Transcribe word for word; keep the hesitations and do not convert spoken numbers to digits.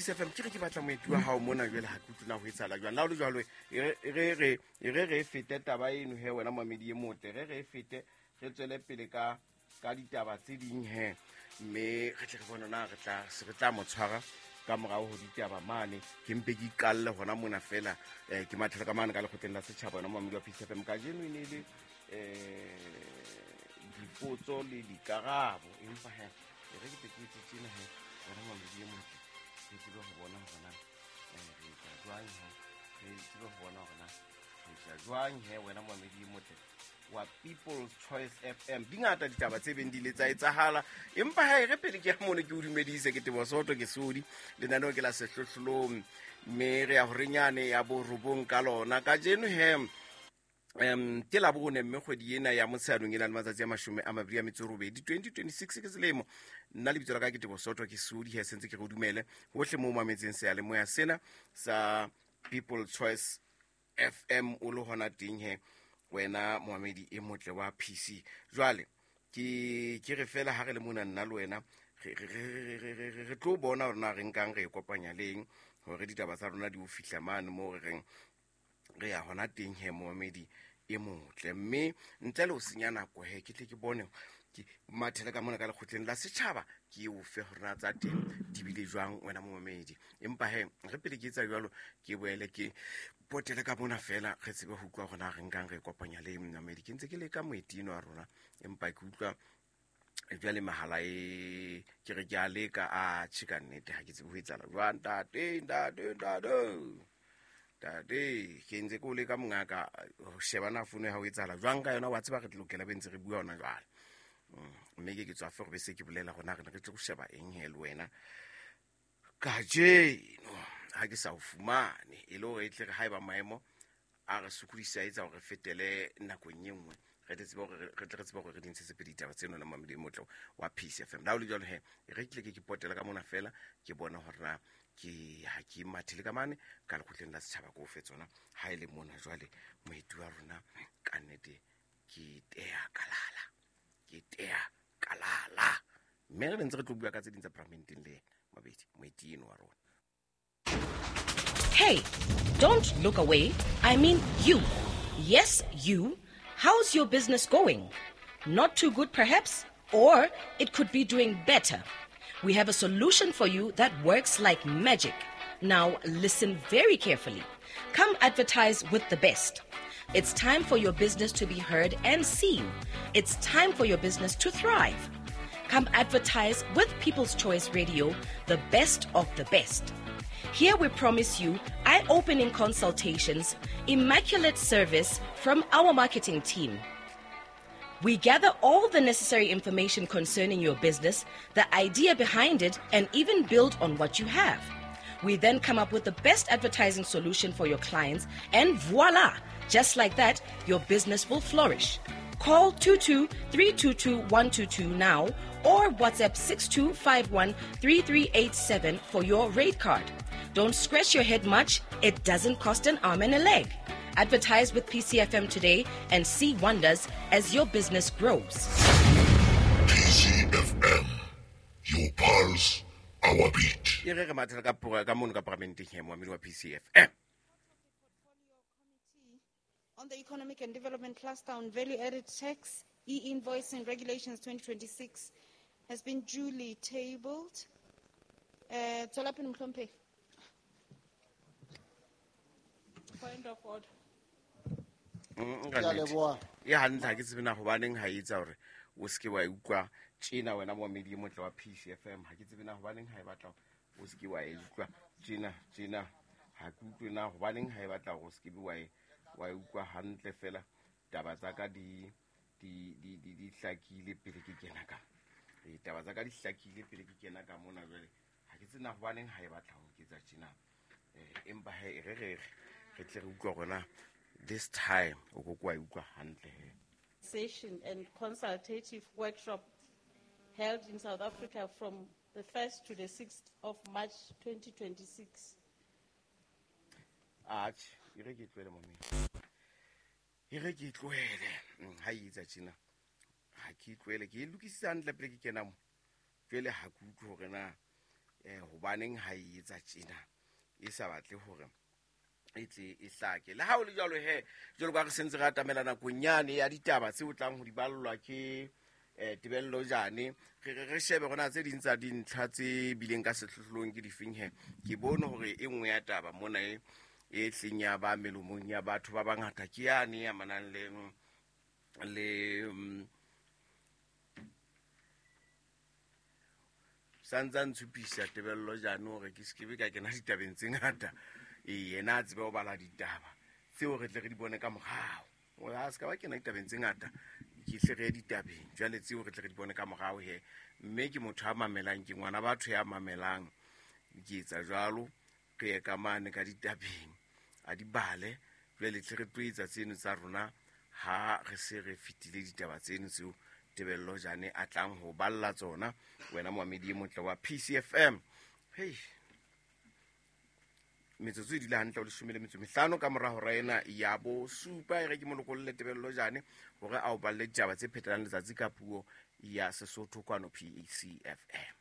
Peace F M ke re ke batla moeti wa hao mona jwale ha ke utlwe na ho etsahala jwang. La ho le jwalo e re re e re re fete taba eno he wena mamedi e motle, re re fete re tswele pele ka ka ditaba tse ding he, mme re tle re bone na re tla se re tla mo tshwara ka morao ho ditaba mane. Ke mpe ke iqalle hona mona fela, eh ke mathela ka mane ka lekgotleng la setjhaba wena mamedi wa Peace F M. Kajeno e ne le eh dipotso le dikarabo, empa he e re ke tle ke etse tjena he wena mamedi e motle, re tsebe ho bona hore na re etsa jwang he, re tsebe ho bona hore na re etsa jwang he wena mamedi e motle wa People's Choice F M. Di ngata ditaba tse beng di le tsa etsahala, empa ha e re pele ke ya mono ke o dumedise, ke Teboho Soto ke Sodi, lenaneo ke la sehlohlolong, mme re ya horenyane ya borobong ka lona kajeno he. Um ke la bone mme kgwedi ena ya Motsheanong e na le matsatsi a mashome a mabedi a metso e robedi twenty twenty-six ke selemo. Nna lebitso la ka ke Teboho Soto ke Sodi, he sentse ke re o dumele hohle moo mametseng seyalemoya sena sa People's Choice F M o le hona teng he wena moamedi e motle wa P C. Jwale ke ke re fela ha re le mona nna le wena re re re re tlo bona hore na re nkang re e kopanya leng hore ditaba tsa rona di o fihla mane moo re reng re ya hona teng he moamedi e motle. Mme ntle le ho senya nako he ke tle ke bone ke mathele ka mona ka lekgotleng la setjhaba ke o fe hore na tsa teng di bile jwang wena moamedi. Empa he re pele ke etsa jwalo ke boele ke potele ka mona fela re tsebe ho utlwa hore na re nkang re kopanya le moamedi. Ke ntse ke leka moetino wa rona empa ke utlwa jwale mahala e ke re ke a leka a tjhe ka nnete ha ke tsebe ho etsahala jwang. Ntate ntate ntate ntate ke ntse ke o leka mongaka ho sheba na fono ya hao etsahala jwang ka yona, wa tseba re lokela be ntse re bua hona jwale. Mme ke ke tswa fe gore be se ke bolela gona re ne re tlo go sheba eng he le wena kajeno ha ke sa o fumane, e le hore e tle re haeba maemo a re sokodisa etsa hore re fetele nakong e nngwe re tle tsebe hore re tle re tsebe hore re di ntshetse pele ditaba tseno na mamedi motlo wa Peace F M. La ho le jwalo he re tle ke ke potela ka mona fela ke bona hore na ke ha ke mathele ka mane ka lekgotleng la setjhaba ko fe tsona ha e le mona jwale moeti wa rona ka nnete ke tea kalala ke tea kalala mme re ntse re tlo bua ka tse ding tsa paramenteng le mabedi moeti eno wa rona. Hey, don't look away. I mean you. Yes, you. How's your business going? Not too good perhaps, or it could be doing better. We have a solution for you that works like magic. Now listen very carefully. Come advertise with the best. It's time for your business to be heard and seen. It's time for your business to thrive. Come advertise with People's Choice Radio, the best of the best. Here we promise you eye-opening consultations, immaculate service from our marketing team. We gather all the necessary information concerning your business, the idea behind it, and even build on what you have. We then come up with the best advertising solution for your clients, and voila! Just like that, your business will flourish. Call two two three two two one two two now or WhatsApp six two five one three three eight seven for your rate card. Don't scratch your head much. It doesn't cost an arm and a leg. Advertise with P C F M today and see wonders as your business grows. P C F M, your pulse, our beat. E re re mathela ka pora ka mono ka paramenteng he moamedi wa P C F M. On the Economic and Development Cluster on Value Added Tax, E-Invoicing Regulations twenty twenty-six has been duly tabled. Uh, Tswela pele, Mohlomphehi. Point of order. Mm, ka nnete. E hantle ha ke tsebe na hobaneng ha e etsa hore o seke wa e utlwa tjena wena moamedi e motle wa P C F M. Ha ke tsebe na hobaneng ha e batla o seke wa e utlwa tjena tjena. Ha ke utlwe na hobaneng ha e batla hore o seke wa e wa e utlwa hantle fela. Taba tsa ka di di di di di hlakile pele ke kena ka. E taba tsa ka di hlakile pele ke kena ka mona jwale. Ha ke tsebe na hobaneng ha e batla ho nketsa tjena. Eh empa he re re re tle re utlwa rona this time o go kwa utlwa hantle he. Session and consultative workshop held in South Africa from the first to the sixth of March twenty twenty-six. Atjhe, e re ke tlohele momeng. E re ke tlohele. Ha e etsa tjena. Ha ke tlohele, ke e lokisitse hantle pele ke kena mo. Jwale ha ke utlwe hore na eh hobaneng ha e etsa tjena e sa batle hore e tle e hlake. Le ha o le jwalo he, jwalo ka re sentse re atamela nakong yane ya ditaba tse o tlang ho di ballwa ke eh Tebello Jane, re re re shebe rona tse ding tsa dintlha tse bileng ka sehlohlolong ke difeng he. Ke bone hore e nngwe ya taba mona e e tleng ya ba melomong ya batho ba bangata ke yane ya manang le le santsa ntshupisa Tebello Jane hore ke se ke be ka kena ditabeng tse ngata. E yena a tsebe ho bala ditaba tseo re tle re di bone ka morao. O a se ka ba kena ditabeng tse ngata, ke hle re ye ditabeng jwale tseo re tle re di bone ka morao he. Mme ke motho a mamelang, ke ngwana batho ya mamelang. Ke etsa jwalo, re ye ka mane ka ditabeng a di bale, jwale tle re tlo etsa tseno tsa rona ha re se re fetile ditaba tseno tseo Tebello Jane a tlang ho balla tsona. Wena moamedi e motle wa P C F M. Hey, metsotso e dula hantle o leshome le metso mehlano ka mora hora ena ya bosupa. E re ke molokolle Tebello Jane hore a o balle ditaba tse phetelang letsatsi ka puo ya Sesotho kwano P C F M.